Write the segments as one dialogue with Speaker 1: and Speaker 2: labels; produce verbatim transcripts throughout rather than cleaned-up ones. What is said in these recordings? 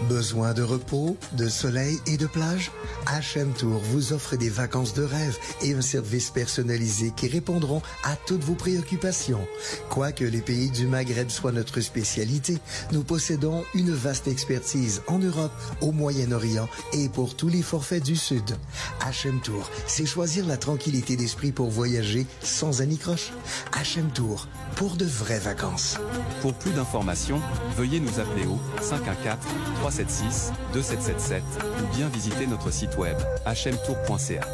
Speaker 1: Besoin de repos, de soleil et de plage? H M Tour vous offre des vacances de rêve et un service personnalisé qui répondront à toutes vos préoccupations. Quoique les pays du Maghreb soient notre spécialité, nous possédons une vaste expertise en Europe, au Moyen-Orient et pour tous les forfaits du Sud. H M Tour, c'est choisir la tranquillité d'esprit pour voyager sans anicroche. H M Tour, pour de vraies vacances.
Speaker 2: Pour plus d'informations, veuillez nous appeler au cinq un quatre, trois sept six, deux sept sept sept ou bien visiter notre site web h m tour point c a.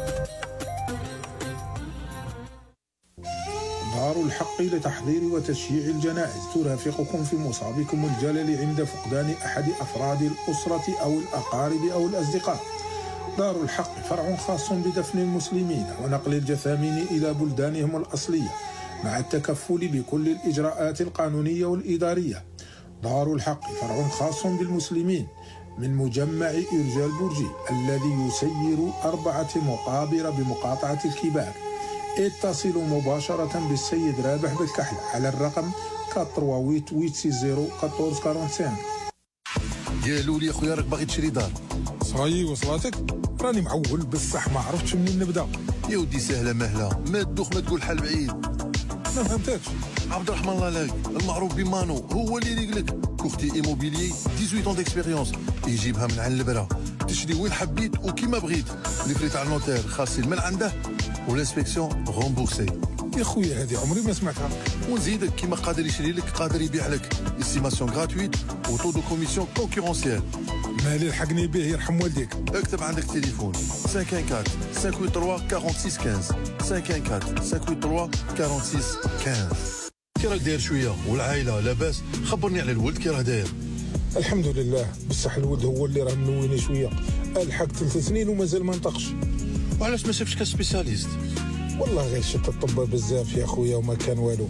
Speaker 3: دار الحق لتحضير وتشييع الجنائز ترافقكم في مصابكم الجلل عند فقدان أحد أفراد الأسرة أو الأقارب أو الأصدقاء. دار الحق فرع خاص بدفن المسلمين ونقل الجثامين إلى بلدانهم الأصلية مع التكفل بكل الإجراءات القانونية والإدارية. دار الحق فرع خاص بالمسلمين من مجمع إرجاء البرجي الذي يسير أربعة مقابر بمقاطعة الكبار. اتصلوا مباشرة بالسيد رابح بالكحل على الرقم ثمانية ثمانية ثمانية ستة صفر أربعة أربعة خمسة.
Speaker 4: يا لولي خويا راك باغي تشري دار؟
Speaker 3: صاي وصلاتك؟ راني معول بصح ما عرفتش منين نبدا.
Speaker 4: يا ودي سهله مهله، ما تدوخ ما تقول حل بعيد.
Speaker 3: ما فهمتكش.
Speaker 4: عبد الرحمن الله لاك المعروف بمانو هو اللي يريق لك كورتي ايموبيليي ثمانية عشر ديكسبيريونس، يجيبها من عند البرا تشري وين حبيت وكيما بغيت. لي فري تاع النوتير خاصين من عنده والانسبكسيون رومبورسي.
Speaker 3: يا خويا هذه عمري ما سمعتها.
Speaker 4: ونزيدك كيما قادر يشري لك قادر يبيع لك، استيماسيون غراتويت وطو دو كوميسيون كونكورونسيال.
Speaker 3: مالي لحقني به يرحم والديك.
Speaker 4: اكتب عندك تليفون خمسة أربعة خمسة ثمانية ثلاثة أربعة ستة خمسة خمسة أربعة خمسة ثمانية ثلاثة أربعة ستة خمسة. كي راك داير شويه والعائله لاباس؟ خبرني على الولد كي راه داير.
Speaker 3: الحمد لله، بصح الولد هو اللي راه منويني شويه. الحق ثلاث سنين ومازال ما نطقش.
Speaker 4: وعلاش ما شفتش كسبيسياليست؟
Speaker 3: والله غير شفت الطب بزاف يا خويا وما كان والو.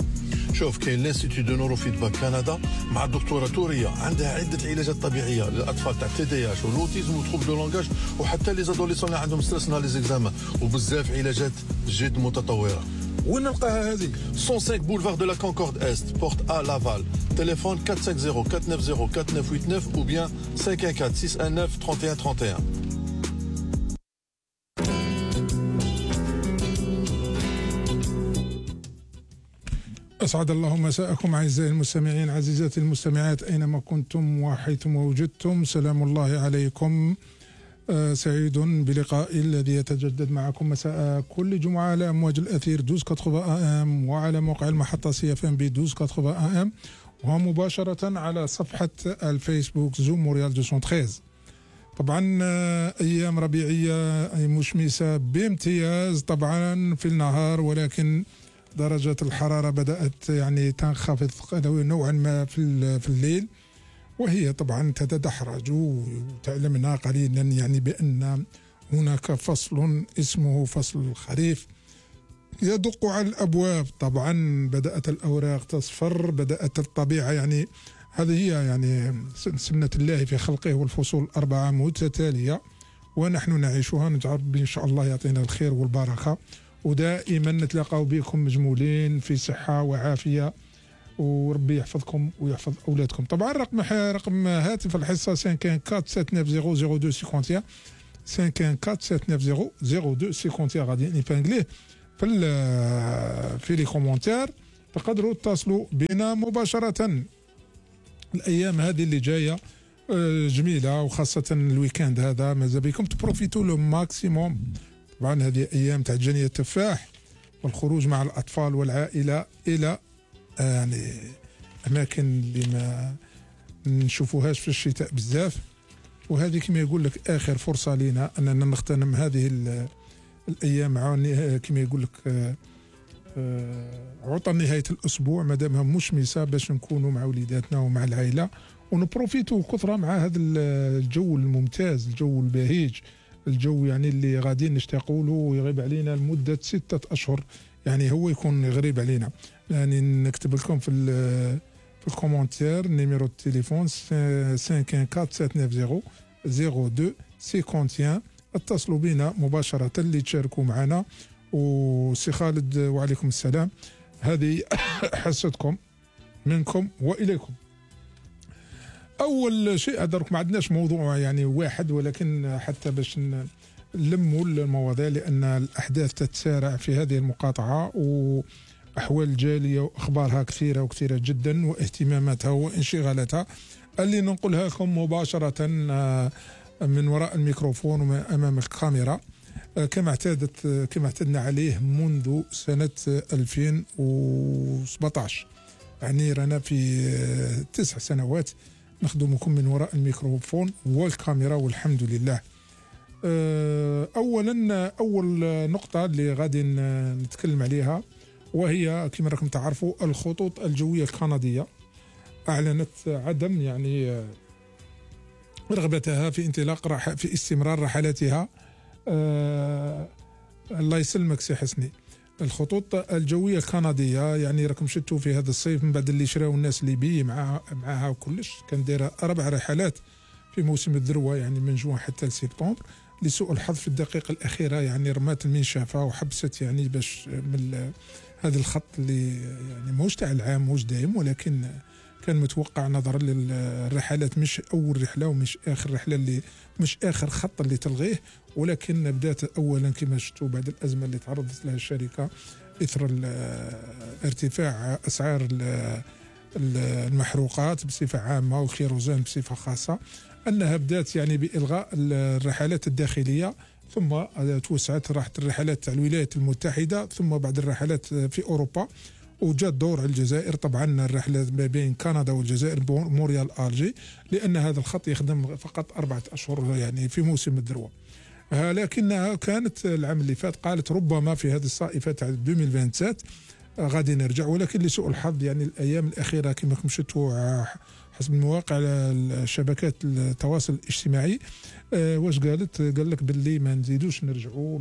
Speaker 4: شوف كاين لانستيتو دو نورو فيدباك كندا مع الدكتوره توريه، عندها عده علاجات طبيعيه للاطفال تاع تي دي اش والاوتيزم وتروب دو لونغاج وحتى لي زادوليسون اللي عندهم ستريس نهار لي زيكزامان، وبزاف علاجات جد متطوره.
Speaker 3: وين نلقاها هذه؟
Speaker 4: مية وخمسة بولفار دو لا كونكورد است بورت ا لافال. تليفون أربعة خمسة صفر أربعة تسعة صفر أربعة تسعة ثمانية تسعة ou bien خمسة أربعة ستة تسعة تسعة واحد واحد واحد.
Speaker 3: أسعد الله مساءكم أعزائي المستمعين، عزيزاتي المستمعات أينما كنتم وحيثما وجدتم، سلام الله عليكم. آه سعيد بلقائي الذي يتجدد معكم مساء كل جمعة على أمواج الأثير اثناشر ثمانين أم وعلى موقع المحطة سي اف ام بي اثناشر ثمانين أم ومباشرة على صفحة الفيسبوك زوم مونريال مئتين وثلاثة عشر. طبعا آه أيام ربيعية مشمسة بامتياز طبعا في النهار، ولكن درجة الحرارة بدأت يعني تنخفض نوعا ما في في الليل، وهي طبعا تتدحرج. وتعلمنا قليلا يعني بأن هناك فصل اسمه فصل الخريف يدق على الأبواب. طبعا بدأت الأوراق تصفر، بدأت الطبيعة يعني هذه هي يعني سنة الله في خلقه، والفصول الأربعة متتالية ونحن نعيشها. نجعل إن شاء الله يعطينا الخير والبركة، ودائما نتلاقاو بكم مجمولين في صحة وعافية، وربي يحفظكم ويحفظ أولادكم. طبعا رقم رقم هاتف الحصة خمسة أربعة سبعة تسعة صفر صفر اثنين اثنين واحد واحد خمسة أربعة سبعة تسعة صفر صفر اثنين اثنين واحد واحد. غادي نبانجليه في في لي كومونتير، تقدروا تتصلوا بنا مباشرة. الأيام هذه اللي جاية جميلة، وخاصة الويكاند هذا ماذا بكم تبروفيتوا لو ماكسيموم. طبعا هذه أيام تاع جني التفاح والخروج مع الأطفال والعائلة إلى يعني أماكن اللي ما نشوفوهاش في الشتاء بزاف، وهذه كما يقول لك آخر فرصة لنا أننا نغتنم هذه الأيام مع كما يقول لك عطل نهاية الأسبوع مادامها مشمسة، باش نكونوا مع وليداتنا ومع العائلة ونبروفيتوا كثرة مع هذا الجو الممتاز، الجو البهيج، الجو يعني اللي غادي نشتاقوا له ويغيب علينا لمدة ستة أشهر، يعني هو يكون يغيب علينا. يعني نكتب لكم في في الكومنتير نيميرو التليفون خمسة أربعة سبعة تسعة صفر صفر اثنين اثنين واحد واحد. اتصلوا بنا مباشرة اللي تشاركوا معنا. وسي خالد وعليكم السلام، هذه حصتكم منكم وإليكم. اول شيء درك ما عندناش موضوع يعني واحد، ولكن حتى باش نلموا المواضيع، لان الاحداث تتسارع في هذه المقاطعه، واحوال الجاليه واخبارها كثيره وكثيره جدا، واهتماماتها وانشغالاتها اللي ننقلها لكم مباشره من وراء الميكروفون وامام الكاميرا كما اعتادت كما اعتدنا عليه منذ سنه ألفين وسبعطاش. يعني رانا في تسع سنوات نخدمكم من وراء الميكروفون والكاميرا والحمد لله. اولا اول نقطه اللي غادي نتكلم عليها وهي كما راكم تعرفوا الخطوط الجويه الكنديه اعلنت عدم يعني رغبتها في انطلاق رح في استمرار رحلاتها. أه الله يسلمك سي حسني. الخطوط الجويه الكنديه يعني راكم شفتوا في هذا الصيف من بعد اللي شراو الناس ليبي معها معها وكلش، كان دايره اربع رحلات في موسم الذروه يعني من جوان حتى لسبتمبر. لسوء الحظ في الدقيقه الاخيره يعني رمات المنشفه وحبست يعني باش من هذا الخط اللي يعني موش تاع العام موش دايم، ولكن كان متوقع نظرا للرحلات مش اول رحله ومش اخر رحله اللي مش اخر خط اللي تلغيه، ولكن بدات اولا كما شفتوا بعد الازمه اللي تعرضت لها الشركه اثر ارتفاع اسعار المحروقات بصفه عامه والكيروزان بصفه خاصه، انها بدات يعني بالغاء الرحلات الداخليه، ثم توسعت راحت الرحلات تاع الولايات المتحده، ثم بعد الرحلات في اوروبا، وجاء دور على الجزائر. طبعا الرحله ما بين كندا والجزائر موريال الجي، لان هذا الخط يخدم فقط اربعه اشهر يعني في موسم الذروه. لكنها كانت العام اللي فات قالت ربما في هذه الصائفه تاع ألفين وسبعة وعشرين غادي نرجع، ولكن لسوء الحظ يعني الايام الاخيره كما راكم شفتوا حسب المواقع شبكات التواصل الاجتماعي أه واش قالت؟ قال لك باللي ما نزيدوش نرجعوا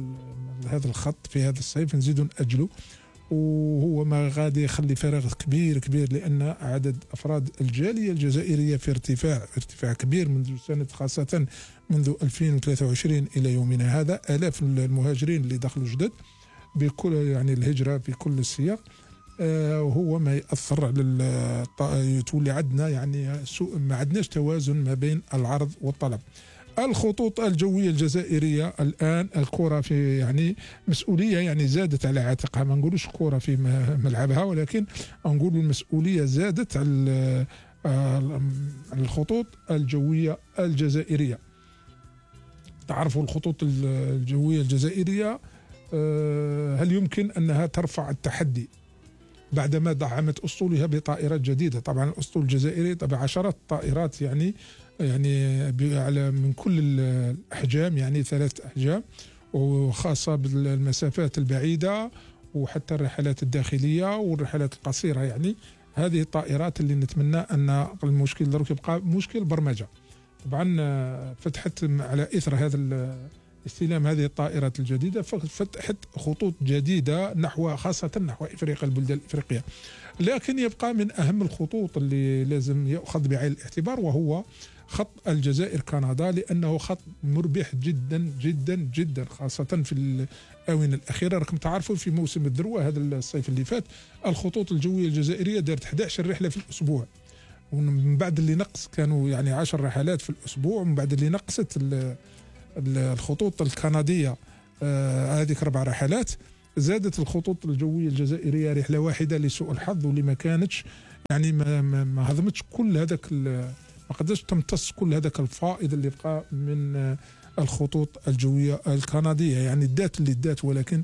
Speaker 3: لهذا الخط في هذا الصيف، نزيدوا ناجلوا، وهو ما غادي يخلي فراغ كبير كبير، لان عدد افراد الجاليه الجزائريه في ارتفاع ارتفاع كبير منذ سنه، خاصه منذ ألفين وثلاثة وعشرين الى يومنا هذا. الاف المهاجرين اللي دخلوا جدد بكل يعني الهجره في كل السياق، آه وهو ما ياثر على تولي عندنا يعني سوء، ما عندناش توازن ما بين العرض والطلب. الخطوط الجويه الجزائريه الان الكره في يعني مسؤوليه يعني زادت على عاتقها، ما نقولوش الكره في ملعبها، ولكن نقول المسؤوليه زادت على الخطوط الجويه الجزائريه. تعرفوا الخطوط الجويه الجزائريه هل يمكن انها ترفع التحدي بعدما دعمت اسطولها بطائرات جديده؟ طبعا الاسطول الجزائري طبعا عشرات الطائرات يعني يعني على من كل الاحجام، يعني ثلاث احجام، وخاصه بالمسافات البعيده وحتى الرحلات الداخليه والرحلات القصيره. يعني هذه الطائرات اللي نتمنى ان المشكل دروك يبقى مشكل برمجه. طبعا فتحت على اثر هذا استلام هذه الطائرات الجديده فتحت خطوط جديده نحو خاصه نحو افريقيا البلدان الافريقيه. لكن يبقى من اهم الخطوط اللي لازم يؤخذ بعين الاعتبار وهو خط الجزائر كندا، لانه خط مربح جدا جدا جدا، خاصه في الاونه الاخيره. راكم تعرفوا في موسم الذروه هذا الصيف اللي فات الخطوط الجويه الجزائريه دارت أحد عشر رحله في الاسبوع، ومن بعد اللي نقص كانوا يعني عشر رحلات في الاسبوع، ومن بعد اللي نقصت الخطوط الكنديه آه هذيك اربع رحلات، زادت الخطوط الجويه الجزائريه رحله واحده لسوء الحظ، واللي ما كانتش يعني ما ما, ما هضمتش كل هذاك، ما قدرتش تمتص كل هذاك الفائض اللي بقى من الخطوط الجويه الكنديه. يعني دات اللي دات، ولكن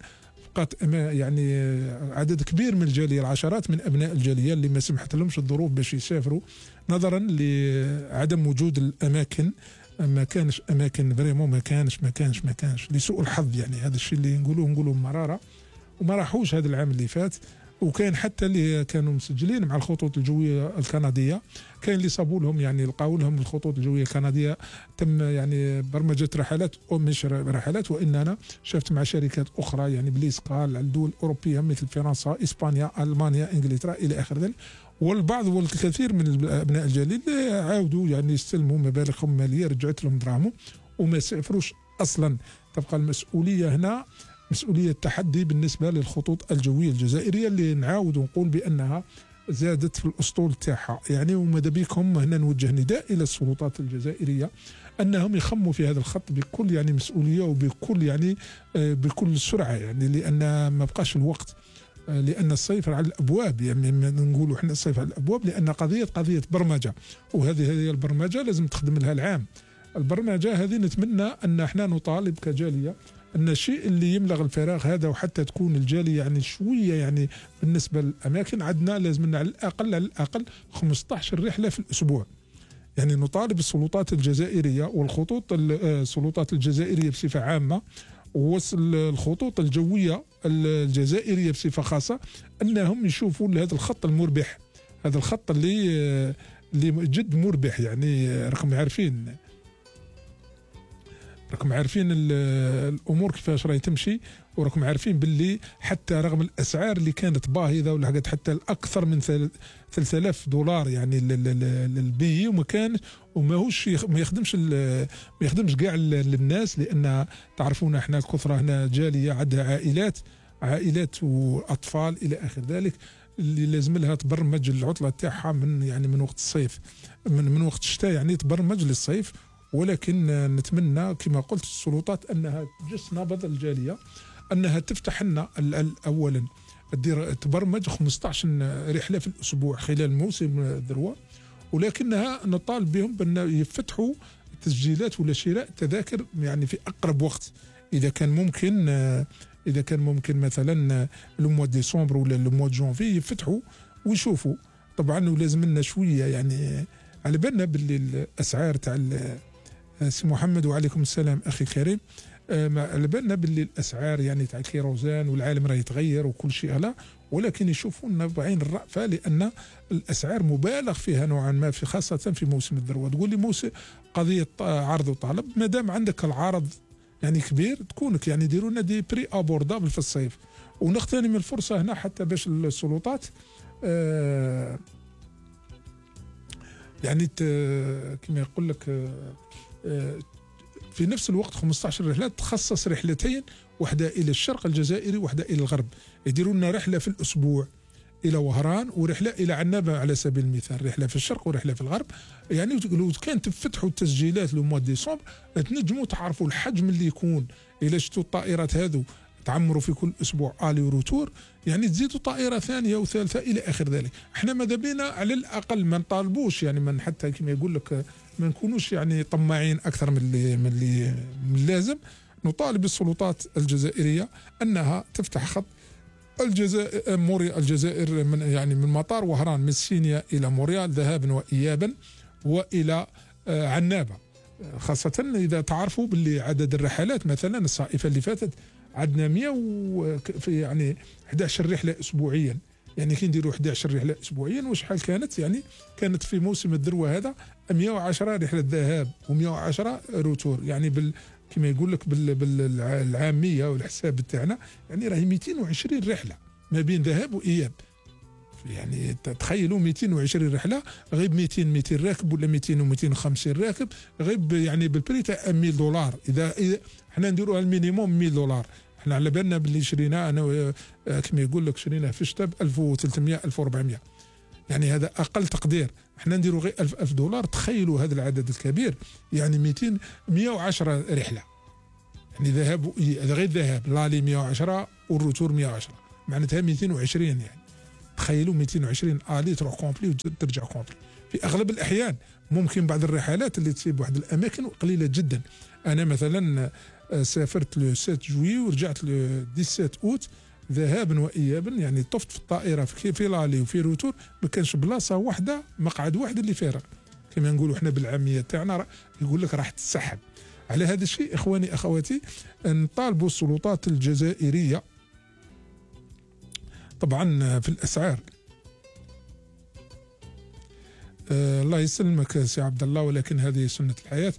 Speaker 3: بقات يعني عدد كبير من الجاليه، العشرات من ابناء الجاليه اللي ما سمحت لهمش الظروف باش يسافروا نظرا لعدم وجود الاماكن. ما كانش اماكن فريمون، ما كانش ما كانش ما كانش لسوء الحظ. يعني هذا الشيء اللي نقولوه نقولوه مراره، وما راحوش هذا العام اللي فات. وكان حتى اللي كانوا مسجلين مع الخطوط الجويه الكنديه كاين اللي صابوا لهم يعني لقاو لهم الخطوط الجويه الكنديه تم يعني برمجه رحلات او مش رحلات، واننا شفت مع شركات اخرى يعني بليسكال على الدول الاوروبيه مثل فرنسا، اسبانيا، المانيا، انجلترا الى اخر ذلك. والبعض والكثير من ابناء الجاليه اللي عاودوا يعني يستلموا مبالغهم ماليه رجعت لهم دراهمهم وما سافروش اصلا. تبقى المسؤوليه هنا مسؤوليه تحدي بالنسبه للخطوط الجويه الجزائريه اللي نعاود ونقول بانها زادت في الاسطول تاعها يعني. وماذا بكم هنا نوجه نداء الى السلطات الجزائريه انهم يخموا في هذا الخط بكل يعني مسؤوليه وبكل يعني بكل سرعه يعني، لان ما بقاش الوقت، لان الصيف على الابواب يعني نقولوا احنا الصيف على الابواب، لان قضيه قضيه برمجه، وهذه هذه البرمجه لازم تخدم لها العام. البرمجه هذه نتمنى ان احنا نطالب كجاليه ان الشيء اللي يملغ الفراغ هذا، وحتى تكون الجاليه يعني شويه يعني بالنسبه للاماكن، عندنا لازم على الاقل على الاقل خمسطاش رحله في الاسبوع. يعني نطالب السلطات الجزائريه والخطوط السلطات الجزائريه بصفه عامه والخطوط الجويه الجزائريه بصفه خاصه انهم يشوفوا هذا الخط المربح، هذا الخط اللي اللي جد مربح يعني. راكم عارفين راكم عارفين الامور كيفاش راهي تمشي، وراكم عارفين باللي حتى رغم الاسعار اللي كانت باهظه ولحقت حتى الاكثر من ثلاثة آلاف دولار يعني للبي، وما كان وماهوش ما يخدمش ما يخدمش كاع للناس، لان تعرفون احنا الكثره هنا جاليه عندها عائلات عائلات واطفال الى اخر ذلك، اللي لازم لها تبرمج العطله تاعها من يعني من وقت الصيف من من وقت الشتاء يعني تبرمج للصيف. ولكن نتمنى كما قلت السلطات انها تجس نبض الجاليه، انها تفتح لنا اولا دير تبرمج خمسطاش رحله في الاسبوع خلال موسم الذروه، ولكنها نطالب بهم بان يفتحوا تسجيلات ولا شراء تذاكر يعني في اقرب وقت، اذا كان ممكن اذا كان ممكن مثلا لو موا ديسمبر ولا لو موا جونفي يفتحوا ويشوفوا. طبعا ولازم لنا شويه يعني على بالنا باللي الاسعار تاع سي محمد وعليكم السلام اخي الكريم، على بالنا باللي الاسعار يعني تاع الكيروزان والعالم راه يتغير وكل شيء لا، ولكن يشوفونا بعين الرأفة، لان الاسعار مبالغ فيها نوعا ما في خاصه في موسم الذروه. تقول لي موسم قضيه عرض وطلب، ما دام عندك العرض يعني كبير تكونك يعني ديروا لنا دي بري ابوردابل في الصيف. ونغتنم الفرصه هنا حتى باش السلطات آه يعني كما يقول لك آه في نفس الوقت خمسطاش رحله تخصص رحلتين، واحده الى الشرق الجزائري واحده الى الغرب، يديروا لنا رحله في الاسبوع الى وهران ورحله الى عنابه على سبيل المثال، رحله في الشرق ورحله في الغرب. يعني لو كان تفتحوا التسجيلات لو موا ديسمبر تنجموا تعرفوا الحجم اللي يكون، الى شفتوا الطائرات هذو تعمروا في كل اسبوع الي وروتور، يعني تزيدوا طائره ثانيه وثالثه الى اخر ذلك. احنا ماذا بينا على الاقل ما نطالبوش يعني من حتى كما يقول لك ما نكونوش يعني طماعين اكثر من اللي من اللي من اللازم. نطالب السلطات الجزائريه انها تفتح خط الجزائر موريال الجزائر من يعني من مطار وهران من سينيا الى موريال ذهابا وايابا والى عنابه، خاصه اذا تعرفوا باللي عدد الرحلات مثلا الصائفه اللي فاتت عندنا مئة و يعني إحدى عشرة رحله اسبوعيا، يعني كي نديروا إحدى عشرة رحله اسبوعيا وشحال كانت يعني كانت في موسم الذروه هذا مئة وعشرة رحله ذهاب ومئة وعشرة روتور، يعني بال كما يقول لك بالعاميه والحساب تاعنا يعني راهي مئتين وعشرين رحله ما بين ذهاب واياب. يعني تخيلوا مئتين وعشرين رحله غير مئتين مئتين راكب ولا مئتين ومئتين وخمسين راكب غير يعني بالبري تاع مئة دولار. اذا اذا حنا نديروها المينيموم مئة دولار، احنا على بالنا باللي شرينا انا كما يقول لك شريناه في الشتاء ب ألف وثلاثمئة ألف وأربعمئة، يعني هذا اقل تقدير. احنا نديروا غير ألف ألف دولار، تخيلوا هذا العدد الكبير يعني مئتين مئة وعشرة رحله، يعني ذهاب هذا غير ذهاب لالي مئة وعشرة والروتور مئة وعشرة، معناتها مئتين وعشرين. يعني تخيلوا مئتين وعشرين الي تروح كومبلي وترجع كومبلي. في اغلب الاحيان ممكن بعض الرحلات اللي تصيب واحد الاماكن قليله جدا. انا مثلا سافرت لو سبعة جوي ورجعت لو سبعة عشر اوت ذهابا وايابا، يعني طفت في الطائره في في لالي وفي روتور ما كانش بلاصه واحده مقعد واحد اللي فارغ، كما نقولوا احنا بالعاميه تاعنا يقول لك راح تسحب. على هذا الشيء اخواني اخواتي نطالبوا السلطات الجزائريه طبعا في الاسعار. آه الله يسلمك سي عبد الله، ولكن هذه سنه الحياه.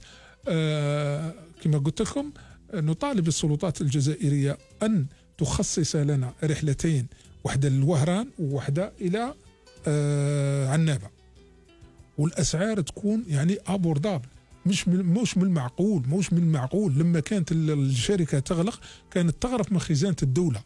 Speaker 3: آه كما قلت لكم نطالب السلطات الجزائريه ان تخصص لنا رحلتين، واحده للوهران وواحده الى آه عنابه، والاسعار تكون يعني ابوردابل، مش من مش من المعقول مش من المعقول. لما كانت الشركه تغلق كانت تغرف من خزانه الدوله،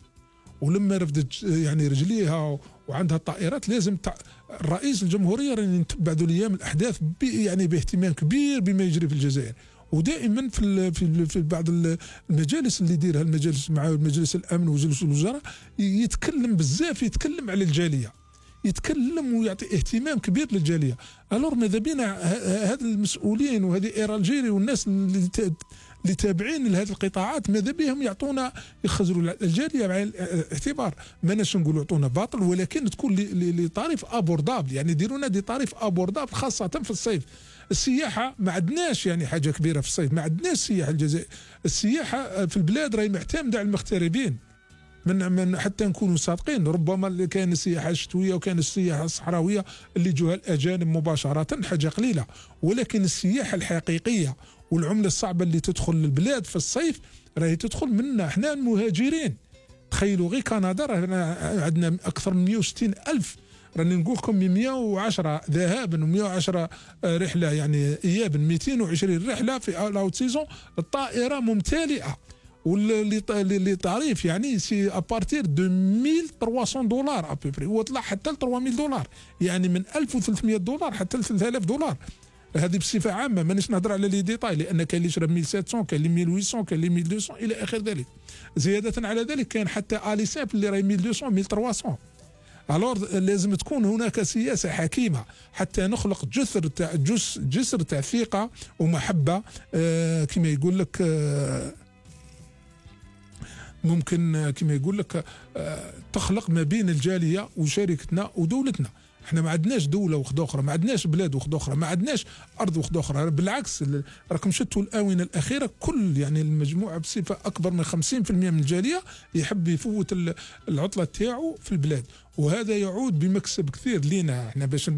Speaker 3: ولما رفدت يعني رجليها وعندها طائرات لازم تع... رئيس الجمهوريه راني نتبع ذو الايام الاحداث ب... يعني باهتمام كبير بما يجري في الجزائر. ودائما في ال في, ال في بعض المجالس اللي يديرها المجالس مع مجلس الامن ومجلس الوزراء يتكلم بزاف، يتكلم على الجاليه، يتكلم ويعطي اهتمام كبير للجاليه. الور ماذا بينا هاد المسؤولين وهذه اير الجيري والناس اللي اللي تابعين لهذه القطاعات ماذا بهم يعطونا يخزروا الجاليه مع الاعتبار، ماناش نقولوا يعطونا باطل، ولكن تكون لطريف ابوردابل، يعني يديروا لنا دي طريف ابوردابل خاصه في الصيف. السياحه ما عندناش يعني حاجه كبيره في الصيف، ما عندناش سياحه الجزائر. السياحه في البلاد راهي معتمده على المغتربين. من من حتى نكونوا صادقين، ربما اللي كان السياحه الشتويه وكان السياحه الصحراويه اللي جوها الاجانب مباشره حاجه قليله، ولكن السياحه الحقيقيه والعمله الصعبه اللي تدخل للبلاد في الصيف راهي تدخل منا احنا المهاجرين. تخيلوا غير كندا عندنا اكثر من مئة وستين الف، راني نقول لكم مئة وعشرة ذهابا و110 رحله يعني ايابا، مئتين وعشرين رحله في الاوت سيزون، الطائره ممتلئه. واللي تعريف يعني سي ابارتير دو ألف وثلاثمئة دولار ابوبري، وطلع حتى ل ثلاثمئة دولار، يعني من ألف وثلاثمئة دولار حتى ل ثلاثة آلاف دولار. هذه بصفه عامه، مانيش نهضر على لي ديتاي، لان كاين اللي يشرب ألف وسبعمئة، كاين اللي ألف وثمانمئة، كاين اللي ألف ومئتين الى اخر ذلك. زياده على ذلك كان حتى الي سامبل اللي راهي ألف ومئتين ألف وثلاثمئة. الور لازم تكون هناك سياسه حكيمه حتى نخلق جسر تاع جسر تاع ثقه ومحبه، آه كما يقول لك آه ممكن كما يقول لك آه تخلق ما بين الجاليه وشركتنا ودولتنا. احنا ما عندناش دوله وحده اخرى، ما عندناش بلاد وحده اخرى، ما عندناش ارض وحده اخرى، بالعكس راكم شفتوا الاونه الاخيره كل يعني المجموعه بصفه اكبر من خمسين بالمئة من الجاليه يحب يفوت العطله تاعو في البلاد، وهذا يعود بمكسب كثير لينا احنا باش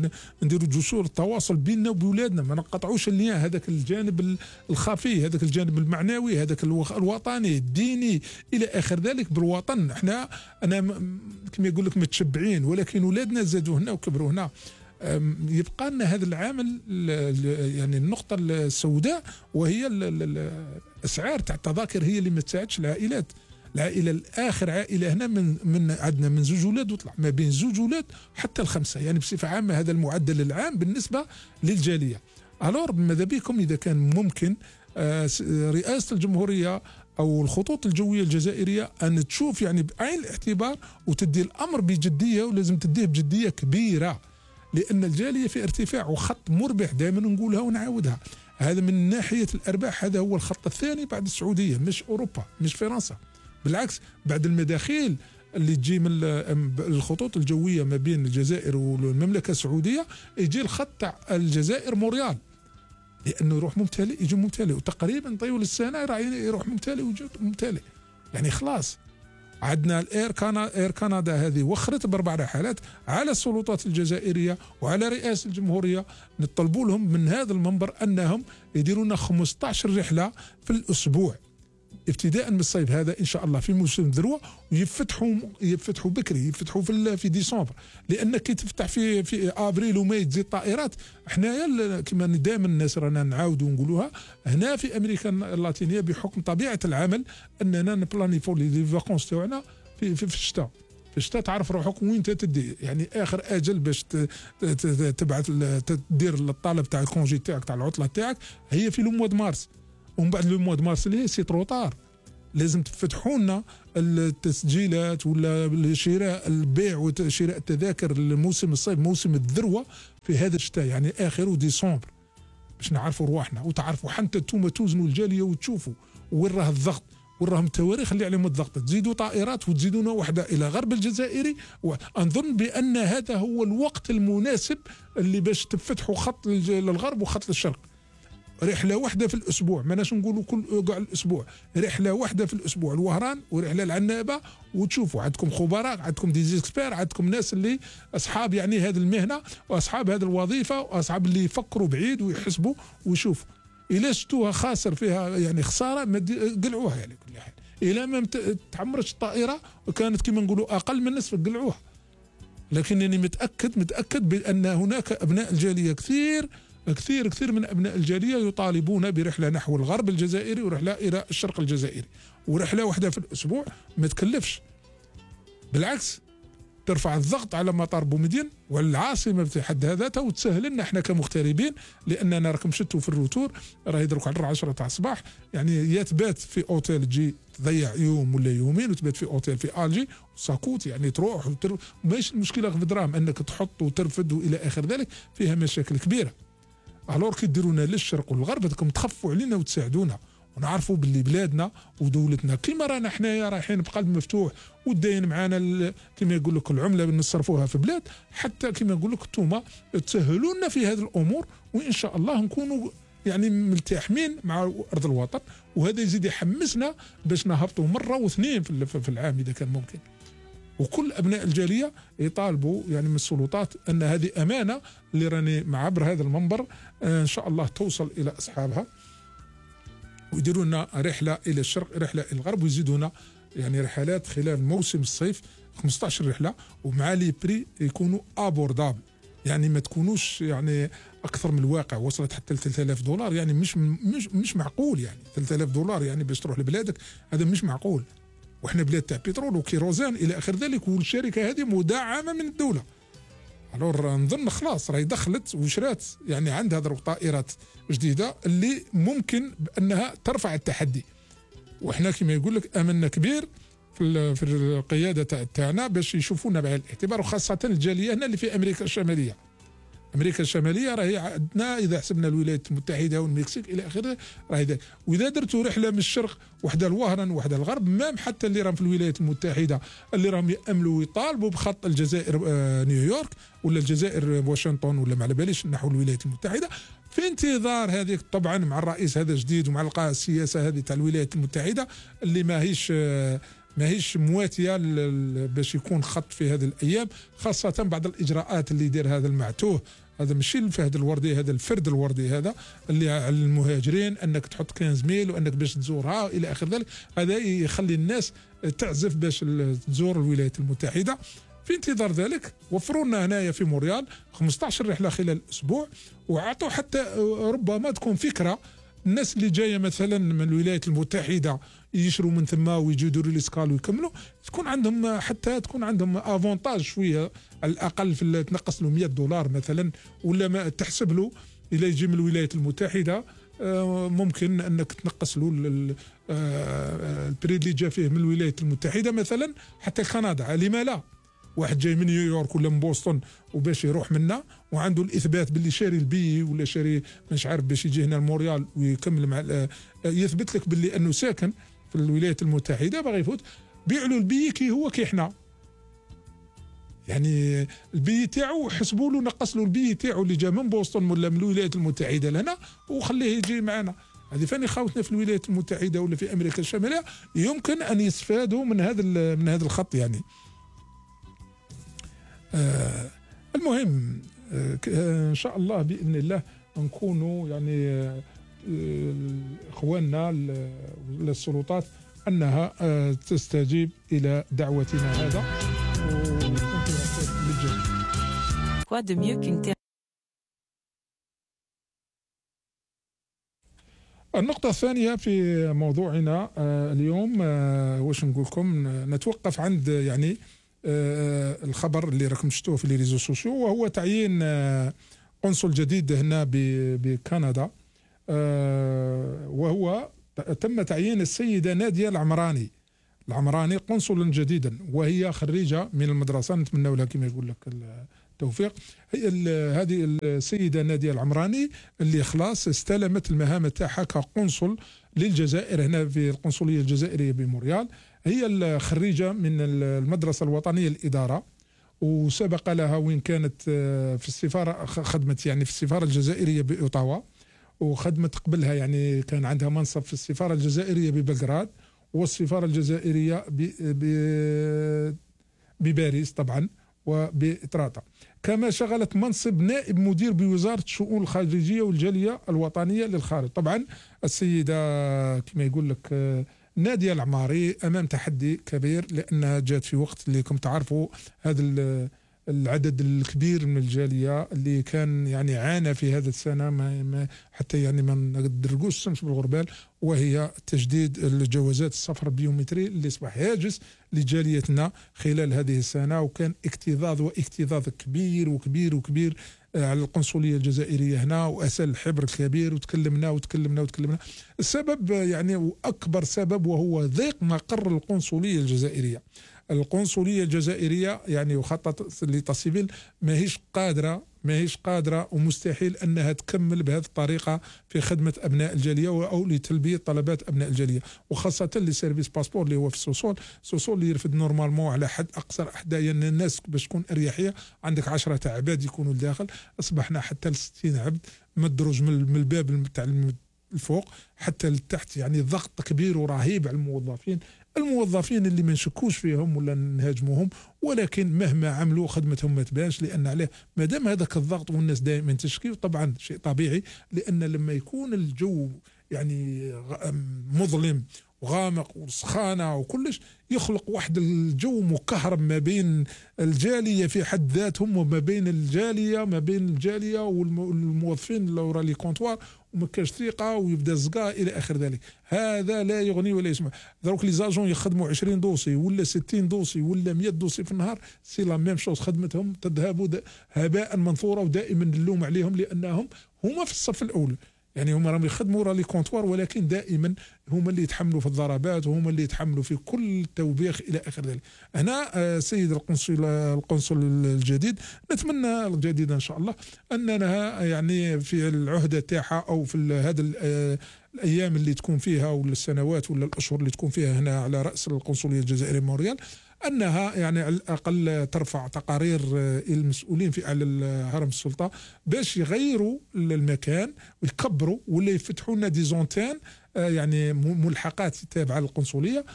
Speaker 3: نديروا جسور التواصل بيننا وبولادنا، ما نقطعوش اللين، هذاك الجانب الخفي، هذاك الجانب المعنوي، هذاك الوطني الديني الى اخر ذلك بالوطن. احنا انا كما يقول لك متشبعين، ولكن اولادنا زادوا هنا وكبروا هنا. يبقى لنا هذا العامل يعني النقطه السوداء، وهي الاسعار تاع التذاكر هي اللي ما تساعدش العائلات. العائله الاخر عائله هنا من من عندنا من زوج اولاد وطلع ما بين زوج اولاد حتى الخمسه، يعني بصفه عامه هذا المعدل العام بالنسبه للجاليه. الور ماذا بكم اذا كان ممكن رئاسه الجمهوريه او الخطوط الجويه الجزائريه ان تشوف يعني بعين الاعتبار وتدي الامر بجديه، ولازم تديه بجديه كبيره، لان الجاليه في ارتفاع وخط مربح، دائما نقولها ونعاودها. هذا من ناحيه الارباح هذا هو الخط الثاني بعد السعوديه، مش اوروبا مش فرنسا، بالعكس بعد المداخيل اللي تجي من الخطوط الجويه ما بين الجزائر والمملكه السعوديه يجي الخط تاع الجزائر موريال، لانه يروح ممتلئ يجي ممتلئ، وتقريبا طيول السنه يروح ممتلئ ويجي ممتلئ، يعني خلاص. عندنا الاير كانا اير كندا هذه وخرت باربع رحلات على السلطات الجزائريه وعلى رئاسه الجمهوريه، نطلبوا لهم من هذا المنبر انهم يديروا لنا خمسة عشر رحله في الاسبوع ابتداء من الصيف هذا ان شاء الله في موسم الذروه، ويفتحوا يفتحوا بكري، يفتحوا في في ديسمبر، لان كي تفتح في في ابريل وماي تزيد طائرات. حنايا كما دائما الناس رانا نعاودوا ونقولوها، هنا في امريكا اللاتينيه بحكم طبيعه العمل اننا نبلانيفو لي فاكونس تاعنا في في, في الشتاء. في الشتاء تعرف روحك وين تدي، يعني اخر اجل باش تبعث تدير الطلب تاع الكونجي تاعك تاع العطله تاعك هي في لو موا دو مارس، ومن بعد لو موا دو مارس اللي سي تروطار. لازم تفتحوا لنا التسجيلات ولا شراء البيع وشراء التذاكر لموسم الصيف، موسم الذروه في هذا الشتاء، يعني اخر ديسمبر، باش نعرفوا رواحنا وتعرفوا حتى انتم توزنوا الجاليه وتشوفوا وين راه الضغط وين راهم التواريخ اللي عليهم الضغط. تزيدوا طائرات وتزيدونا وحده الى غرب الجزائري، واظن بان هذا هو الوقت المناسب اللي باش تفتحوا خط للغرب وخط للشرق. رحله واحده في الاسبوع، ماناش نقولوا كل كاع الاسبوع، رحله واحده في الاسبوع الوهران ورحله العنابه، وتشوفوا عندكم خبراء، عندكم دي زيكسبير، عندكم ناس اللي اصحاب يعني هذه المهنه واصحاب هذه الوظيفه واصحاب اللي يفكروا بعيد ويحسبوا ويشوفوا. الا شفتوها خاسر فيها يعني خساره ما قلعوها يعني كل حال. الا ما تعمرتش الطائره وكانت كما نقولوا اقل من نصف قلعوها. لكنني متاكد متاكد بان هناك ابناء الجاليه كثير كثير كثير من أبناء الجالية يطالبون برحلة نحو الغرب الجزائري ورحلة إلى الشرق الجزائري، ورحلة واحدة في الأسبوع ما تكلفش. بالعكس ترفع الضغط على مطار بومدين وعلى العاصمه في حد ذاتها وتسهل لنا احنا كمغتربين، لاننا راكم شتوا في الروتور راه يدرك على العشرة تاع الصباح، يعني يا تبات في اوتيل تجي تضيع يوم ولا يومين وتبات في اوتيل في الجي ساكوت، يعني تروح وتر... ماشي المشكله في دراهم انك تحط وترفد والى اخر ذلك، فيها مشاكل كبيره. الور كي ديرونا للشرق والغرب بدكم تخفوا علينا وتساعدونا ونعرفوا باللي بلادنا ودولتنا كيما رانا حنايا رايحين بقلب مفتوح وداين معانا كيما يقول لك العمله نصرفوها في بلاد، حتى كيما يقول لك انتوما تسهلوا لنا في هذه الامور، وان شاء الله نكونوا يعني ملتحمين مع ارض الوطن، وهذا يزيد يحمسنا باش نهبطوا مره واثنين في العام اذا كان ممكن. وكل ابناء الجاليه يطالبوا يعني من السلطات ان هذه امانه اللي راني معبر هذا المنبر ان شاء الله توصل الى اصحابها، ويديروا لنا رحله الى الشرق رحله الى الغرب، ويزيدونا يعني رحلات خلال موسم الصيف خمسة عشر رحله، ومع لي بري يكونوا ابوردابل، يعني ما تكونوش يعني اكثر من الواقع، وصلت حتى ل ثلاثة آلاف دولار، يعني مش مش مش معقول، يعني ثلاثة آلاف دولار يعني باش تروح لبلادك هذا مش معقول، واحنا بلاد تاع بترول وكيروزان الى اخر ذلك، والشركه هذه مدعمه من الدوله. الور نظن خلاص راهي دخلت وشرات يعني عندها ضرب طائرات جديده اللي ممكن بانها ترفع التحدي، واحنا كما يقول لك املنا كبير في في القياده تاعنا باش يشوفونا بعين الاعتبار، وخاصه الجاليه هنا اللي في امريكا الشماليه. امريكا الشماليه راهي عندنا اذا حسبنا الولايات المتحده والمكسيك الى اخره راهي، واذا درتوا رحله من الشرق وحده الوهران وحده الغرب، مام حتى اللي راهم في الولايات المتحده اللي راهم ياملوا ويطالبوا بخط الجزائر آه نيويورك ولا الجزائر واشنطن ولا ما على باليش نحو الولايات المتحده، في انتظار هذه طبعا مع الرئيس هذا جديد ومع السياسه هذه تاع الولايات المتحده اللي ماهيش آه ماهيش مواتيه باش يكون خط في هذه الايام، خاصه بعد الاجراءات اللي يدير هذا المعتوه، هذا ماشي الفهد الوردي، هذا الفرد الوردي هذا اللي على المهاجرين انك تحط خمسة ميل وانك باش تزورها الى اخر ذلك، هذا يخلي الناس تعزف باش تزور الولايات المتحده. في انتظار ذلك وفروا لنا هنايا في مونريال خمسة عشر رحله خلال اسبوع، وعطوا حتى ربما تكون فكره الناس اللي جايه مثلا من الولايات المتحده يشروا من ثم ويجوا يديروا الاسكال ويكملوا، تكون عندهم حتى تكون عندهم افونتاج شويه على الاقل في تنقص له مئة دولار مثلا، ولا ما تحسب له الى يجي من الولايات المتحده ممكن انك تنقص له البري اللي جا فيه من الولايات المتحده مثلا حتى كندا، لما لا؟ واحد جاي من نيويورك ولا من بوسطن وباش يروح منا وعنده الاثبات باللي شاري البي ولا شاري مش عارف باش يجي هنا لمونريال ويكمل مع يثبت لك باللي انه ساكن في الولايات المتحده باغي يفوت، بيع له البي كي هو كي احنا، يعني البي تاعو حسبوا له نقص له البي تاعو اللي جا من بوسطن ولا من الولايات المتحده لهنا وخليه يجي معنا. هذه فاني خاوتنا في الولايات المتحده ولا في امريكا الشماليه يمكن ان يستفادوا من هذا من هذا الخط يعني. آه المهم آه ان شاء الله باذن الله نكونوا يعني آه اخواننا للسلطات انها آه تستجيب الى دعوتنا هذا للجميع. النقطة الثانية في موضوعنا آه اليوم آه واش نقول لكم، نتوقف عند يعني آه الخبر اللي راكم شفتوه في لي ريزو سوسيو، وهو تعيين آه قنصل جديد هنا بكندا، آه وهو تم تعيين السيدة نادية العمراني العمراني قنصلا جديدا، وهي خريجة من المدرسة، نتمنى لها كما يقول لك التوفيق. هي هذه السيدة نادية العمراني اللي خلاص استلمت المهام تاعها كقنصل للجزائر هنا في القنصلية الجزائرية بمونريال. هي الخريجة من المدرسة الوطنية للإدارة، وسبق لها وين كانت في السفارة، خدمت يعني في السفارة الجزائرية بأوتاوا، وخدمت قبلها يعني كان عندها منصب في السفارة الجزائرية ببلغراد والسفارة الجزائرية بباريس طبعا وبإطراطا، كما شغلت منصب نائب مدير بوزارة الشؤون الخارجية والجالية الوطنية للخارج. طبعا السيدة كما يقول لك نادية العماري أمام تحدي كبير، لأنها جات في وقت اللي كم تعرفوا هذا العدد الكبير من الجاليه اللي كان يعني عانى في هذا السنه ما, ما حتى يعني ما ندرقوش الشمس بالغربال، وهي تجديد الجوازات السفر البيومتري اللي اصبح هاجس لجاليتنا خلال هذه السنه، وكان اكتظاظ واكتظاظ كبير وكبير وكبير على القنصليه الجزائريه هنا، واسال الحبر الكبير، وتكلمنا وتكلمنا وتكلمنا. السبب يعني واكبر سبب وهو ضيق مقر القنصليه الجزائريه. القنصليه الجزائريه يعني وخطط ليطا سيفيل ماهيش قادره ماهيش قادره ومستحيل انها تكمل بهذه الطريقه في خدمه ابناء الجاليه او لتلبيه طلبات ابناء الجاليه، وخاصه لسيرفيس باسبور اللي هو في السوسول. السوسول اللي يرفد نورمالمون على حد اقصى احداثيا الناس باش تكون اريحيه عندك عشرة عباد يكونوا لداخل، اصبحنا حتى ل ستين عبد مدروج من الباب تاع الفوق حتى لتحت، يعني ضغط كبير ورهيب على الموظفين الموظفين اللي ما نشكوش فيهم ولا نهاجموهم، ولكن مهما عملوا خدمتهم ما تبانش، لان عليه ما دام هذاك الضغط والناس دائما تشكي، طبعا شيء طبيعي، لان لما يكون الجو يعني مظلم وغامق وسخانه وكلش يخلق واحد الجو مكهرب ما بين الجاليه في حد ذاتهم وما بين الجاليه ما بين الجاليه والموظفين اللي ورا لي كونتوار، وما كاش ثقه ويبدا الزقا الى اخر ذلك. هذا لا يغني ولا يسمع. دروك لي زاجون يخدموا عشرين دوسي ولا ستين دوسي ولا مية دوسي في النهار، سي لا ميم شوز، خدمتهم تذهب هباء منثورا، ودائما اللوم عليهم لانهم هما في الصف الاول، يعني هما راهم يخدموا راه لي كونتوار، ولكن دائما هما اللي يتحملوا في الضربات وهما اللي يتحملوا في كل التوبيخ الى اخر ذلك. هنا سيد القنصل القنصل الجديد، نتمنى الجديد ان شاء الله اننا يعني في العهده تاعها او في هذا الايام اللي تكون فيها ولا السنوات ولا الاشهر اللي تكون فيها هنا على راس القنصليه الجزائريه مونريال، انها يعني على الاقل ترفع تقارير المسؤولين في اعلى هرم السلطه باش يغيروا المكان ويكبروا ولا يفتحوا لنا دي زونتين يعني ملحقات تابعه للقنصليه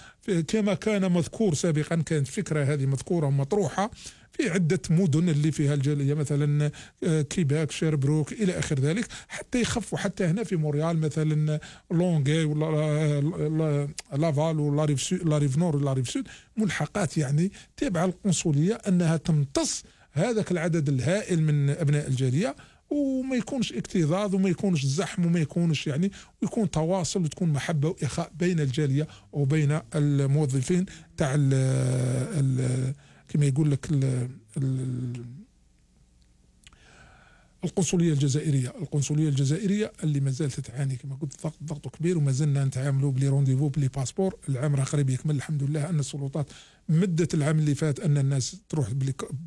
Speaker 3: كما كان مذكور سابقا. كانت فكره هذه مذكوره ومطروحه في عدة مدن اللي فيها الجالية، مثلا كيباك، شيربروك إلى آخر ذلك، حتى يخفوا حتى هنا في مونريال مثلا لونغي ولا لافال ولا ريف سود لا ريف نور ولا ريف سود، ملحقات يعني تابعة للقنصلية أنها تمتص هذاك العدد الهائل من أبناء الجالية، وما يكونش اكتظاظ وما يكونش زحم وما يكونش يعني، ويكون تواصل وتكون محبة وإخاء بين الجالية وبين الموظفين تاع كما يقول لك ال ال القنصلية الجزائرية. القنصلية الجزائرية اللي ما زالت تعاني كما قلت ضغط ضغط كبير، وما زلنا نتعاملوا بلي رونديفو بلي باسبور. العام راه قريب يكمل، الحمد لله ان السلطات مدت العام اللي فات ان الناس تروح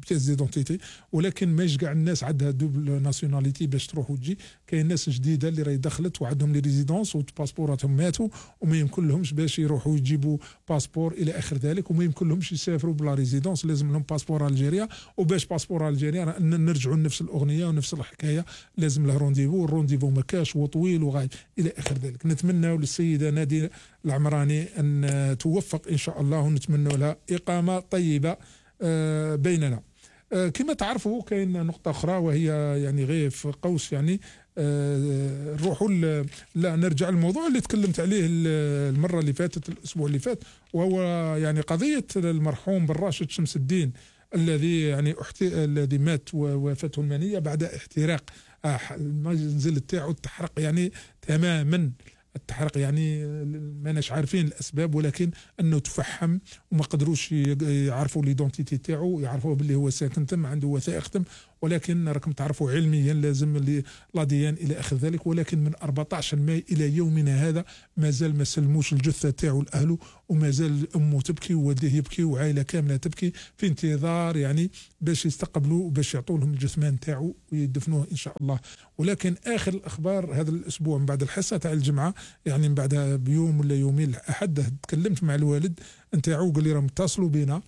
Speaker 3: بياس ديدونتيتي، ولكن ماش كاع الناس عندها دوبل ناسيوناليتي باش تروح وتجي. كاين ناس جديده اللي راهي دخلت وعندهم لي ريزيدونس وباسبوراتهم ماتوا وما يمكن لهمش باش يروحوا يجيبوا باسبور الى اخر ذلك، وما يمكن لهمش يسافروا بلا ريزيدونس، لازم لهم باسبور الجيريا. وباش باسبور الجيريا نرجعوا لنفس الاغنيه ونفس الحكايه، لازم له رونديفو، الرونديفو ما كاش وطويل وغايب الى اخر ذلك. نتمنى للسيده ناديه العمراني ان توفق ان شاء الله، ونتمنى لها اقامه طيبه بيننا. كما تعرفوا كاين نقطه اخرى وهي يعني غير في قوس يعني نروحوا لا نرجع للموضوع اللي تكلمت عليه المره اللي فاتت الاسبوع اللي فات، وهو يعني قضيه المرحوم بن راشد شمس الدين الذي يعني الذي مات وفاته المنيه بعد احتراق المنزل تاعو، التحرق يعني تماما، التحرق يعني ماناش عارفين الاسباب، ولكن انه تفحم وما قدروش يعرفوا ليدونتيتي تاعو، يعرفوا باللي هو ساكن تم عنده وثائق تم، ولكن راكم تعرفوا علميا لازم لاديان الى اخر ذلك. ولكن من أربعة عشر ماي الى يومنا هذا مازال ما سلموش الجثه تاعو لاهله، وما زال امه تبكي ووالديه يبكي وعائله كامله تبكي في انتظار يعني باش يستقبلوا وباش يعطوا لهم الجثمان تاعو ويدفنوه ان شاء الله. ولكن اخر الاخبار هذا الاسبوع من بعد الحصه تاع الجمعه يعني من بعد بيوم ولا يومين الاحد تكلمت مع الوالد نتاعو، قال لي راهم اتصلوا بينا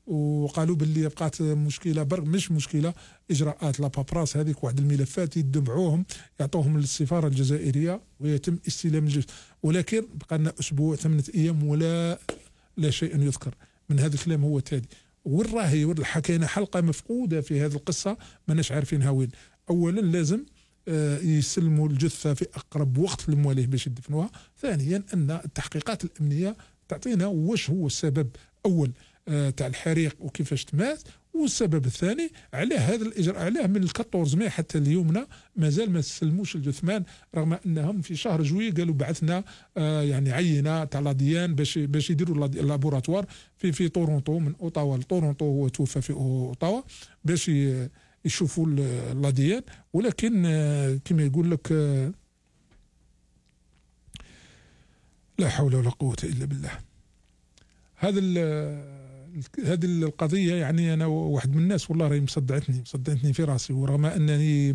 Speaker 3: وقالوا باللي بقات مشكله برك مش مشكله اجراءات لا بابراس هذيك، واحد الملفات يدبعوهم يعطوهم للسفاره الجزائريه ويتم استلام الجثث، ولكن بقى لنا اسبوع ثمانيه ايام ولا لا شيء يذكر من هذا الكلام. هو تالي وين راهي حكينا حلقه مفقوده في هذه القصه ماناش عارفينها وين. اولا لازم يسلموا الجثه في اقرب وقت لمواليه باش يدفنوها. ثانيا ان التحقيقات الامنيه تعطينا واش هو السبب اول تاع الحريق وكيفاش تمات، والسبب الثاني علاه هذا الاجراء، علاه من أربعة ماي حتى اليومنا مازال ما سلموش الجثمان، رغم انهم في شهر جويي قالوا بعثنا آه يعني عينه تاع لاديان باش باش يديروا اللابوراتوار في في طورونتو، من اوتاوا لطورونتو، هو توفى في اوتاوا، باش يشوفوا اللاديان. ولكن آه كما يقول لك آه لا حول ولا قوه الا بالله. هذا هذه القضيه يعني انا واحد من الناس والله راهي مصدعتني مصدعتني في راسي، ورغم انني